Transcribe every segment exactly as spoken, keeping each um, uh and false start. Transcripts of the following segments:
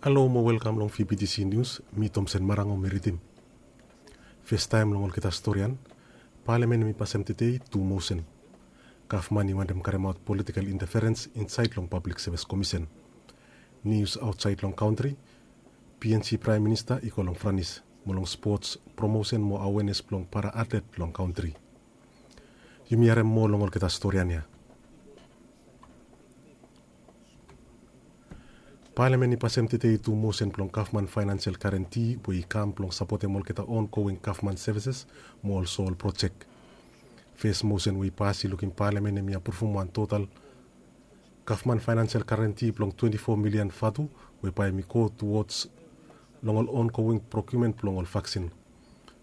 Halo mo welkam long V B T C News, mi Tomsen Marango mi ridim. Festaem long olgeta storian, Palamen hemi pasem tedei tu mosen. Gavman i wantem karemaot politikel inteferens insaed long Pablik Sevis Komisen. Nius aotsaed long kantri, P N G Praem Minista i go long Franis mo long spots, promosen mo awenes blong para atlet long kantri. Yumi harem moa long olgeta storian ya. Palamen i pasem tedei tu mosen blong gavman faenansial garanti we i kam blong sapotem olgeta ongoing gavman sevises mo olso ol projek. Fes mosen we i pas i lukim Palamen hemi apruvum wan total gavman faenansial garanti blong twenti fo milian vatu we bae hemi go tuwods long ol ongoing prokiumen blong ol vaksin.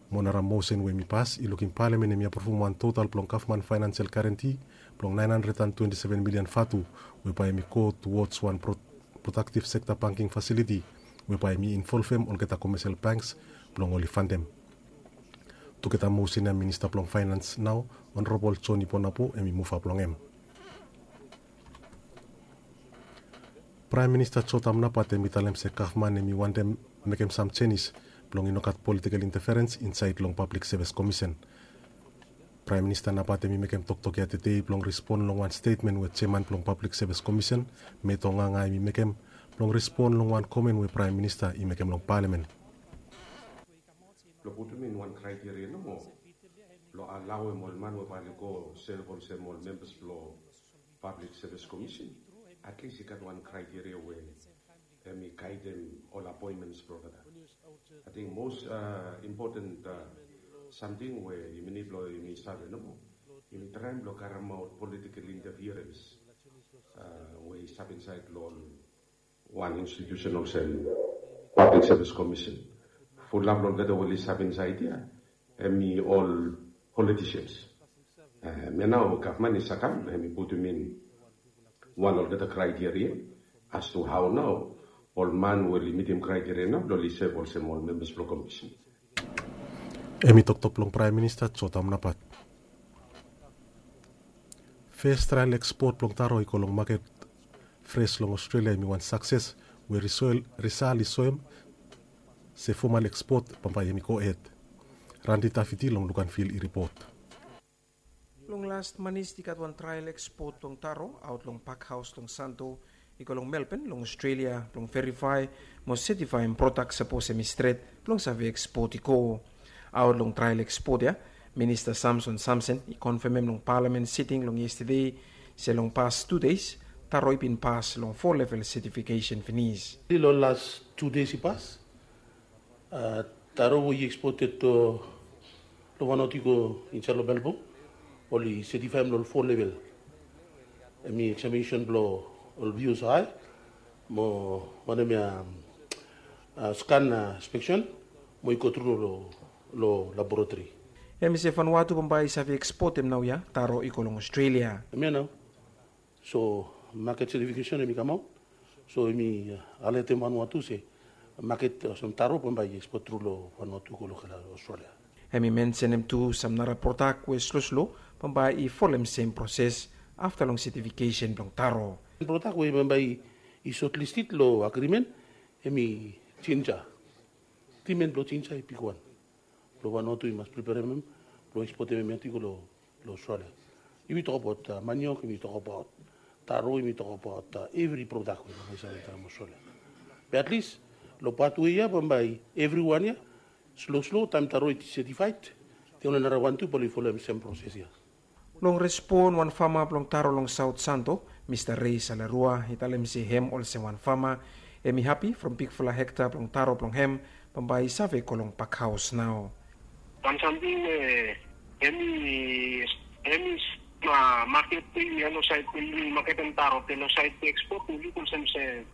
Mo nara mosen we hemi pas i lukim Palamen hemi apruvum wan total blong gavman faenansial garanti blong naen handred an twenti seven milian vatu we bae hemi go tuwods wan pro- prodaktiv sekta banking fasiliti we bae hemi involvem olgeta komesel banks blong oli fandem. Tugeta mosen ya Minista blong Faenans nao, Honorabol Joni Bonapo hemi muvap long hem. Praem Minista Jotam Napat hemi talem se gavman hemi wantem mekem sam jenis blong i no gat politikel inteferens insaed long Pablik Sevis Komisen. Praem Minista Napat hemi mekem toktok ya tedei blong respon long wan stetmen we jeaman blong Pablik Sevis Komisen, Meto Nganga hemi mekem blong respon long wan komen we Praem Minista i mekem long Palamen. Blong putum in wan kraiteria nomo blong alaoem ol man we bae oli go sev olsem ol membas blong Pablik Sevis Komisen, atlis i gat wan kraiteria we hemi gaedem ol apoenmens blong olgeta. Ating mos impoten samting we yumi nid blong yumi save nomo, yumi traem blong karemaot politikel inteferens we i stap insaed long ol wan institusen olsem Pablik Sevis Komisen. Fulap long olgeta we oli stap insaed ya hemi ol politisians. Hemia nao gavman i save kam hemi putum in wan long olgeta kraiteria as tu hao nao ol man we oli mitim kraiteria nao blong oli sev olsem ol membas blong komisen. Hemi toktok blong Praem Minista Jotam Napat. Fes trael ekspot blong taro i go long maket fres long Ostrelia hemi wan sakses we risal i soem se fomal ekspot bambae hemi gohed. Randi Tafiti long Lukanvil i ripot. Long las manis i gat wan trael ekspot blong taro aot long pakhaos long Santo i go long Melbourne long Ostrelia blong verifae mo setifaem prodak sapos hemi stret blong save ekspot i go. Aot long trael ekspot ya, Minista Samson Samson i konfemem long Palamen siting long yestede se long pas tu deis taro i bin pas long fo level setifikesen finis. Long las tu deis i pas, taro we i ekspot long Vanuatu i go insaed long Melbourne oli setifaem long ol fo level. Hemi eksaminesen blong ol V O C I mo wanem ya, skan inspeksen mo i go tru long laboratori. Hemi se Vanuatu bambae i save ekspotem naoia taro i go long Ostrelia. Hemia nao. So maket setifikesen hemi kamaot. So hemi alertem Vanuatu se maket olsem taro bambae i ekspot tru long Vanuatu go long Ostrelia. Hemi mensenem tu sam nara prodak we sloslo bambae i folem sem proses afta long setifikesen blong taro. Prodak we bambae i sotlisted long agrimen hemi jinja. Trimen blong jinja i bigwan. Blong Vanuatu i mas preperem hem blong ekspotem hem ya tu i go long Ostrelia. Yumi tokbaot maniok, yumi tokbaot taro, yumi tokbaot evri prodak we yumi save traem Ostrelia. Be atlis long pat we ya bambae evriwan ya sloslo taem taro i setifaed, de oli nara wan tu bae oli folem sem proses ya. Long respon wan fama blong taro long Saot Santo, Mista Rei Salerua i talem se hem olsem wan fama hemi hapi from bigfala hekta blong taro blong hem bambae i save go long pakhaos nao. Wan samting we hemi hemi maket we yumi ya long saed we yumi maketem taro be long saed we ekspot we luk olsem se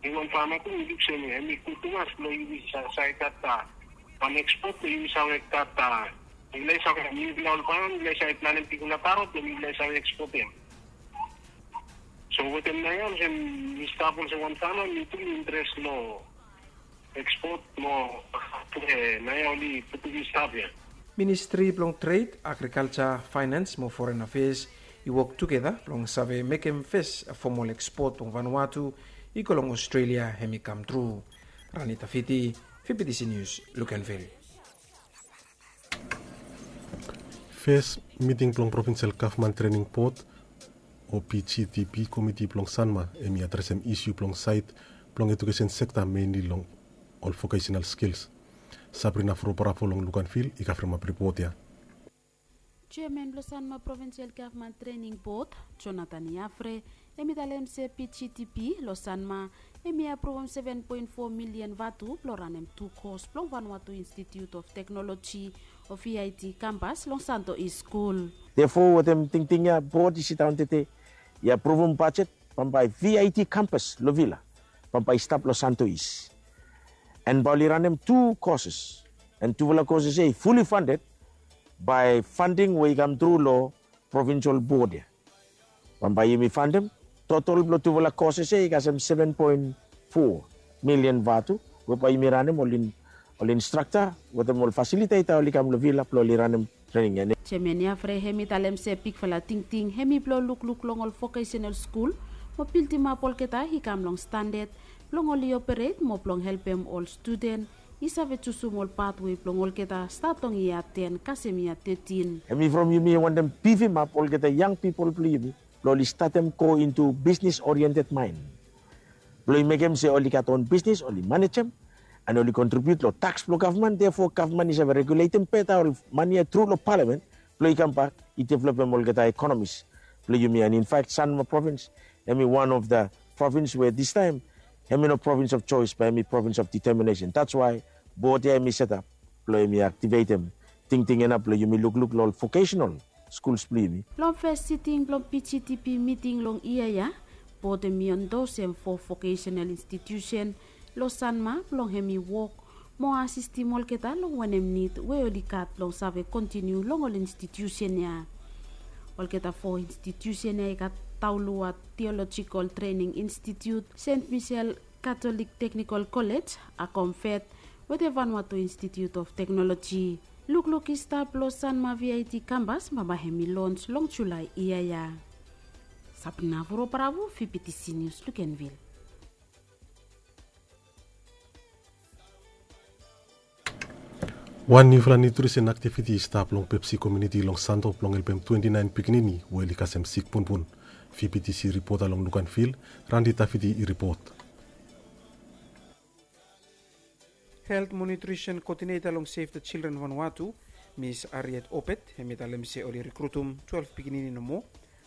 hemi wan fama tu we luk se hemi gud tumas blong yumi save gat wan ekspot we yumi save gat Mifala i save, mifala ol faman mifala i save planem bigfala taro blong mifala i save ekspotem. So wetem naoia olsem mi stap olsem wan fama, mi tu mi interes long ekspot mo naoia oli putum mi stap ya. Ministri blong Tred, Agrikalja, Faenans mo Foren Afeas i wok tugeta blong save mekem fes fomol ekspot blong Vanuatu I go long Australia hem i kam tru. Rani Tafiti, Fibitisi Nius, Lukenvil. Fes miting blong Provinsel Gavman Trening Bod o P G T P komiti blong Sanma hem i adresem isu blong saed blong ejukesen sekta, menli long ol vokesenal skils. Sabrina Froparafo long Luganvil i kavremap ripot ya. Jeaman blong Sanma Provinsel Gavman Trening Bod, Jonathan Yafre, hem i talem se P G T P long Sanma hem i apruvum seven poen fo milian vatu blong ranem tu kos blong Vanuatu Institute of Technology o V I T kampas long Santo East Skul. Therefore wetem tingting ya bod i sidaon tete i apruvum bajet bambae V I T kampas long Vila bambae i stap long Santo East. An bae oli ranem tu koses, an tufala koses ya i fully funded bae fanding we i kam tru long provinsel bod ya. Bambae yumi fandem totol blong tufala koses ya i kasem seven poen fo milian vatu we bae yumi ranem ol instrakta wetem ol fasiliteta oli kam long Vila blong oli ranem trening ya. Jeaman Yafre hem i talem se bigfala tingting hem i blong lukluk long ol vokesenal skul mo bildimap olgeta i kam long standad blong oli operet mo blong helpem ol studen i save jusum ol patwe blong olgeta stat long yia ten kasem yia tetin. Hem i from yumi wantem bifimap olgeta yang pipol blong yumi blong oli statem go intu bisnis oriented maen blong i mekem se oli gat on bisnis oli manejem an oli kontribiut long taks blong gavman. Therefore gavman i save reguletem beta ol mane ya tru long palamen blong i kambak i developem olgeta ekonomis blong yumi. An in fact Sanma provins hem i wan of the provins we distaem hem i no provins of joes bae hem i provins of deteminesen. That's why bod ya hem i setap blong hem i aktivetem tingting ya nao blong yumi lukluk long ol vokesenal skuls blong yumi. Long fes siting blong P G T P miting long yia ya, bod hem i endosem fo vokesenal institusen long Sanma blong hem i wok mo asistim olgeta long wanem nid we oli gat blong save kontiniu long ol institusen ya. Olgeta fo institusen ya i gat Taulua Theological Training Institute, Saint Michel Catholic Technical College, Akomfet wetem Vanuatu Institute of Technology. Lukluk i stap long Sanma V I T kampas bambae hem i lons long Julae yia ya. Sabrina Froparafo, Fibitisi Nius, Lukenvil. Wan niufala niutrisen aktiviti i stap long Pepsi komuniti long Santo blong helpem twenti naen pikinini we oli kasem sik punpun. V P T C ripota long Luganvil, Randi Tafiti i ripot. Helt mo niutrisen koodineta long Save the Children Vanuatu, Mis Harriet Obed, hem i talem se oli rikrutum twelef pikinini nomo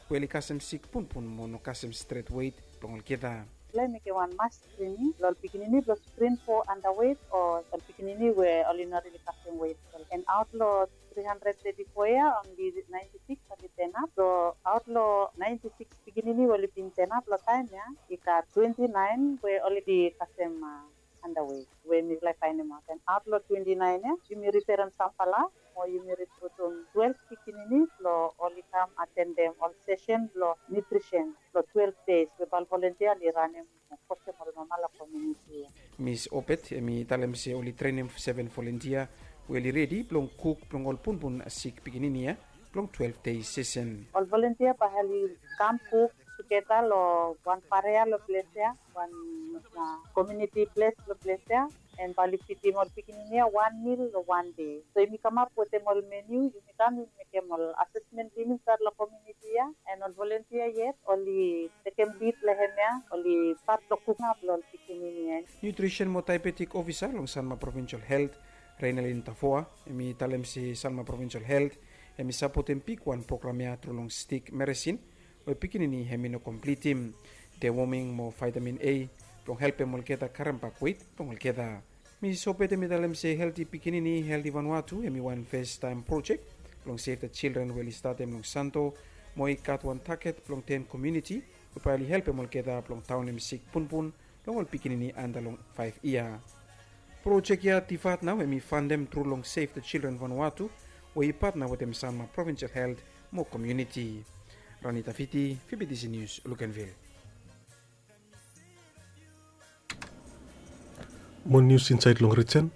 we oli kasem sik punpun mo no kasem stret wet blong olgeta. Blong mekem wan mas skrining long ol pikinini blong skrin fo andawet o ol pikinini we oli no rili kasem wet. An aot long tri handred teti fo ya, onli naenti sikis oli tenap. So aot long naenti sikis pikinini we oli bin tenap long taem ya, i gat twenti naen we oli kasem andawet we mifala i faenemaot. An aot long twenti naen ya yumi riferem samfala mo yumi rikrutum twelef pikinini blong oli kam atendem ol sesen blong niutrisen blong twelef deis we bae ol volontia oli ranem mo kosem ol mama long komuniti ya. Mis Obed hem i talem se oli trenem seven volontia we oli redi blong kuk blong ol punpun sik pikinini ya blong twelef deis sesen. Ol volontia bae oli kam kuk tugeta long wan pareja long ples ya, wan komuniti ples long ples ya, an bae oli fidim ol pikinini ya wan mil long wan dei. So yumi kamap wetem ol meniu, yumi kam yumi mekem ol asesmen blong yumi insaed long komuniti ya, an ol volontia yet oli tekem lid long hem ya, oli stat long kukap long ol pikinini ya. Niutrisen mo daebetik ofisa long Sanma Provinsel Helt, Reinalin Tafoa, hem i talem se Sanma Provinsel Helt hem i sapotem bigwan program ya tru long stik meresin we pikinini hem i no komplitim, dewoming mo vaetamin A blong helpem olgeta karembak wet blong olgeta. Mis Obed hem i talem se helti pikinini, helti Vanuatu hem i wan festaem projek blong Save the Children we oli statem long Santo, mo i gat wan taget blong ten komuniti we bae oli helpem olgeta blong daonem sik punpun blong ol pikinini anda long faef yia. Projek ya Divat nao hem i fandem tru long Save the Children Vanuatu we i patna wetem Sanma Provinsel Helt mo komuniti. Rani Tafiti, V P T C Nius, Luganvil. Mo nius insaed long rijen.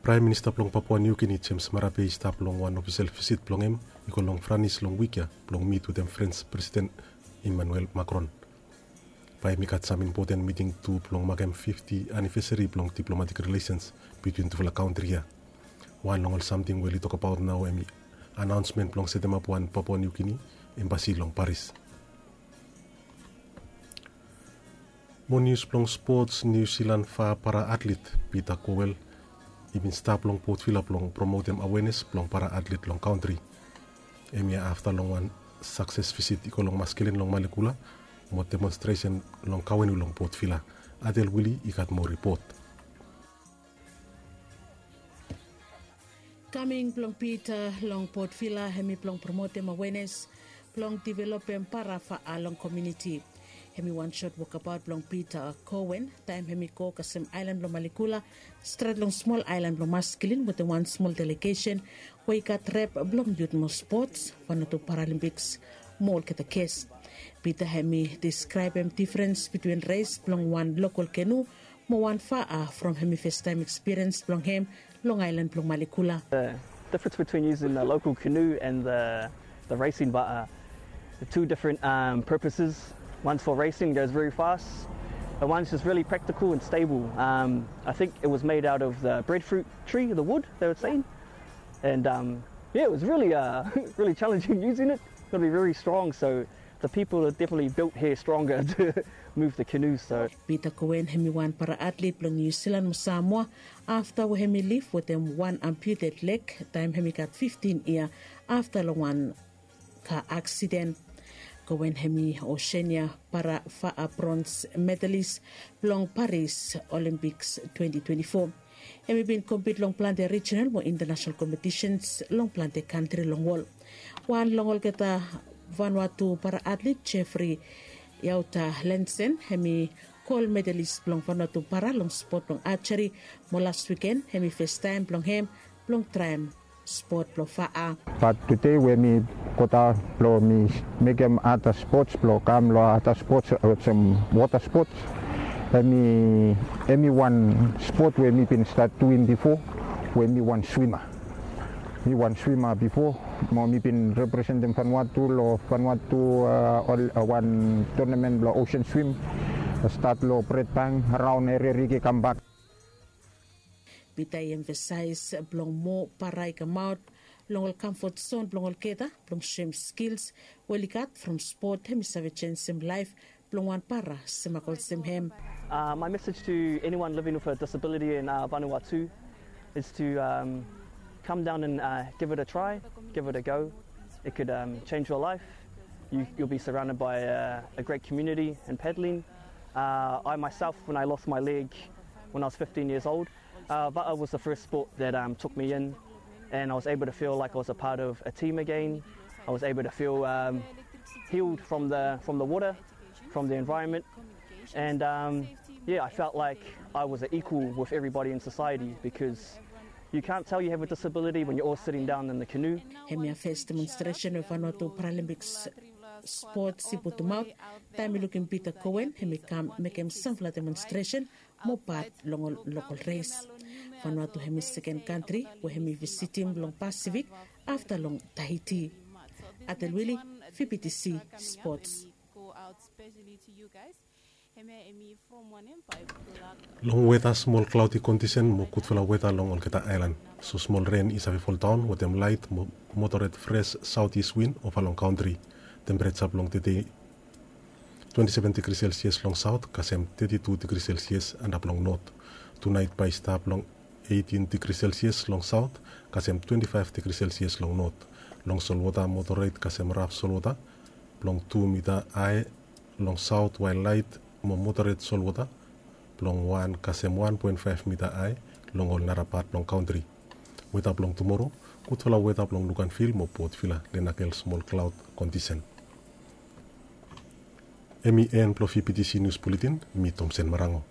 Praem Minista blong Papua Niu Gini, James Marape, i stap long wan ofisel visit blong hem i go long Franis long wik ya blong mit wetem Frens Presiden Emmanuel Macron. Bae i gat sam impoten miting tu blong makem fifti anivesari blong diplomatik rilesens bitwin tufala kantri ya. Wan long ol samting we oli tokabaot nao hem i anaonsmen blong setemap wan Papua Niu Gini embasi long Paris. Mo nius blong spots, Niu Silan fa para atlet Pita Kowel i bin stap long Port Vila blong promotem awenes blong para atlet long kantri. Hemia afta long wan sakses visit i go long Maskelen long Malekula mo demonstresen long Kawenu long Port Vila. Adel Wili i gat moa ripot. Kaming blong Pita long Port Vila hem i blong promotem awenes blong developem para fa'a long komuniti. Hem i wan sot wokabaot blong Pita Kowen taem hem i go kasem aelan blong Malekula stret long smol aelan blong Maskelen wetem wan smol delegesen we i gat rep blong yut mo spots, Vanuatu Paralimpiks mo olgeta ges. Pita hem i deskraebem difrens bitwin res blong wan lokol kenu mo wan fa'a from hem i festaem ekspiriens blong hem long aelan blong Malekula. The difference between using the local canoe and the, the racing va'a, the two different um, purposes. One's for racing, goes very fast, and one's just really practical and stable. Um, I think it was made out of the breadfruit tree, the wood, they were saying. And um, yeah, it was really, uh, really challenging using it. Got to be very strong, so the people are definitely built here stronger to move the canoes. So. Pita Kowen hem i wan para atlet blong Niu Silan mo Samoa afta we hem i lif wetem wan amputed leg taem hem i gat fiftin yia afta long wan ka aksiden. Kowen hem i Osenia para fa'a brons medalis blong Paris Olimpiks twenti twenti fo. Hem i bin kompit long plante rijinal mo intanasenal kompetisens long plante kantri long wol. Wan long olgeta Vanuatu para atlet Jeffrey Yauta Lensen hem i gol medalis blong Vanuatu para long spot blong ajeri mo las wiken hem i festaem blong hem blong traem spot blong fa'a. Bat tude we mi godaon blong mi mekem ada spots blong kam long ada spots olsem wota spots. Hem i wan spot we mi bin stat duim bifo we mi wan swima. Mi wan swima bifo mo mi bin representem Vanuatu long Vanuatu wan tonamen blong osen swim. Stat long Bredbank, raon Eria Riki, kambak. Pita i emfasaes blong moa para i kamaot long ol kamfot zon blong olgeta blong soem skils we oli gat from spot hem i save jenisim laef blong wan para semak olsem hem. My message to anyone living with a disability in Vanuatu is to come down and give it a try, give it a go. It could change your life. You, you'll be surrounded by a, a great community in paddling. Uh, I myself, when I lost my leg when I was fifteen years old, uh, va'a was the first sport that um, took me in, and I was able to feel like I was a part of a team again. I was able to feel um, healed from the, from the water, from the environment, and um, yeah, I felt like I was an equal with everybody in society because you can't tell you have a disability when you're all sitting down in the canoe. Hemia fes demonstresen we Vanuatu Paralympics Sports i putumaot taem i lukim Pita Koen hem i kam mekem samfala demonstresen mo pat long ol lokol res. Vanuatu hem i seken kantri we hem i visitim long Pasifik afta long Tahiti. Atel Wili, V B T C Sports. Long weta, smol klaoti kondisen mo gudfala weta long olgeta aelan. So smol ren i save foldaon wetem laet mo motoret fres saotis win ova long kantri. Tempereja blong tede twenti seven digri selsias long saot kasem teti tu digri selsias antap long not. Tunaet bae i stap long eitin digri selsias long saot kasem twenti faef digri selsias long not. Long solwota motoret kasem raf solwota blong tu mita ae long saot wael laet mo motoret solwota blong wan kasem wan poen faef mita ae long ol nara pat blong kantri. Weta blong tumoro, gudfala weta blong Luganvil mo Port Vila, Lenakel smol klaot kondisen. Hemi en blong V B T C Nius Buletin, mi Tomsen Marango.